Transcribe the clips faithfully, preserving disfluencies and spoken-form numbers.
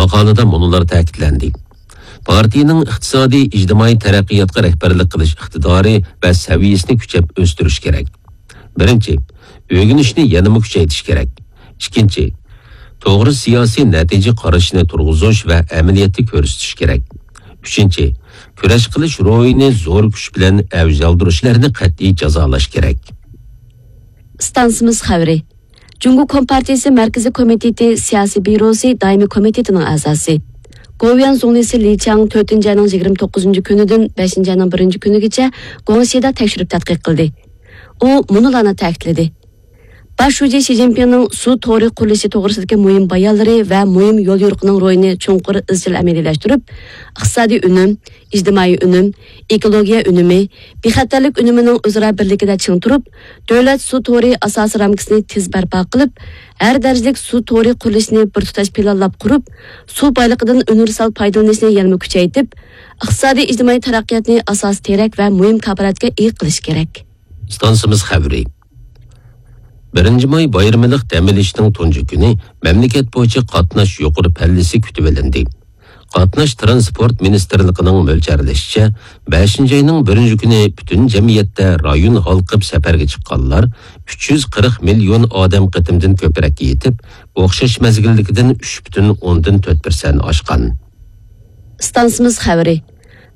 ماقالىدا مۇنۇلار تەكىتلەندى: پارتىيىنىڭ ئىقتىسادىي، ئىجتىمائىي تەرەققىياتقا رەھبەرلىك قىلىش ئىقتىدارى ۋە سەۋىيەسىنى كۈچەپ ئۆستۈرۈش كېرەك. بىرىنچى، ئۆگىنىشنى يەنىمۇ كۈچەيتىش كېرەك. ئىككىنچى، توغرا سىياسىي نەتىجە قارىشىنى تۇرغۇزۇش ۋە ئەمەلىيەتتە كۆرسىتىش كېرەك. ئۈچىنچى، كۈرەش قىلىش روھىنى زور كۈچ بىلەن ئەۋج ئالدۇرۇشلارنى قەتئىي جازالاش كېرەك. ئىستانسىمىز خەۋىرى. جۇڭگو كومپارتىيىسى مەركىزىي كومىتېتى سىياسىي بيۇروسى دائىمىي كومىتېتىنىڭ ئەزاسى، گوۋۇيۈەن زۇڭلىسى لى چياڭ تۆتىنچى ئاينىڭ يىگىرمە توققۇزىنچى كۈنىدىن بەشىنچى ئاينىڭ بىرىنچى كۈنىگىچە گۇاڭشىدا تەكشۈرۈپ تەتقىق قىلدى. ئۇ مۇنۇلارنى تەكىتلىدى: باش شۇجى شى جىنپىڭنىڭ سۇ تورى قۇرۇلۇشى توغرىسىدىكى مۇھىم بايانلىرى ۋە مۇھىم يوليورۇقىنىڭ روھىنى چوڭقۇر ئىزچىل ئەمەلىيلەشتۈرۈپ، ئىقتىسادىي ئۈنۈم، ئىجتىمائىي ئۈنۈم، ئېكولوگىيە ئۈنۈمى، بىخەتەرلىك ئۈنۈمىنىڭ ئۆزئارا بىرلىكىدە چىڭ تۇرۇپ، دۆلەت سۇ تورى ئاساسىي رامكىسىنى تېز بەرپا قىلىپ، ھەر دەرىجىلىك سۇ تورى قۇرۇلۇشىنى بىر تۇتاش پىلانلاپ قۇرۇپ، سۇ بايلىقىدىن ئۇنىۋېرسال پايدىلىنىشنى يەنىمۇ كۈچەيتىپ، ئىقتىسادىي ئىجتىمائىي تەرەققىياتنى ئاساسىي تىرەك ۋە مۇھىم كاپالەتكە ئىگە قىلىش كېرەك. ئىستانسىمىز خەۋىرى. بىرىنچى ماي بايرىملىق دەم ئېلىشنىڭ تۇنجى كۈنى مەملىكەت بويىچە قاتناش يۇقىرى پەللىسى كۈتۈۋېلىندى. قاتناش تىرانسپورت مىنىستىرلىقىنىڭ مۆلچەرلىشىچە، بەشىنچى ئاينىڭ بىرىنچى كۈنى پۈتۈن جەمئىيەتتە رايون ھالقىپ سەپەرگە چىققانلار ئۈچ يۈز قىرىق مىليون ئادەم قېتىمدىن كۆپرەككە يېتىپ، ئوخشاش مەزگىلدىكىدىن ئۈچ پۈتۈن ئوندىن تۆت پىرسەنت ئاشقان. ئىستانسىمىز خەۋىرى.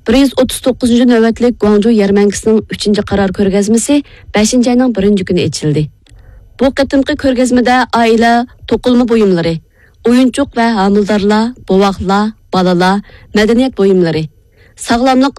بىر يۈز ئوتتۇز توققۇزىنچى نۆۋەتلىك گۇاڭجۇ يەرمەنكىسىنىڭ ئۈچىنچى قارار كۆرگەزمىسى بەشىنچى ئاينىڭ بىرىنچى كۈنى ئېچىلدى. بۇ قېتىمقى كۆرگەزمىدە ئائىلە توقۇلما بۇيۇملىرى، ئويۇنچۇق ۋە ھامىلىدارلار، بوۋاقلار، بالىلار، مەدەنىيەت بۇيۇملىرى، ساغلاملىق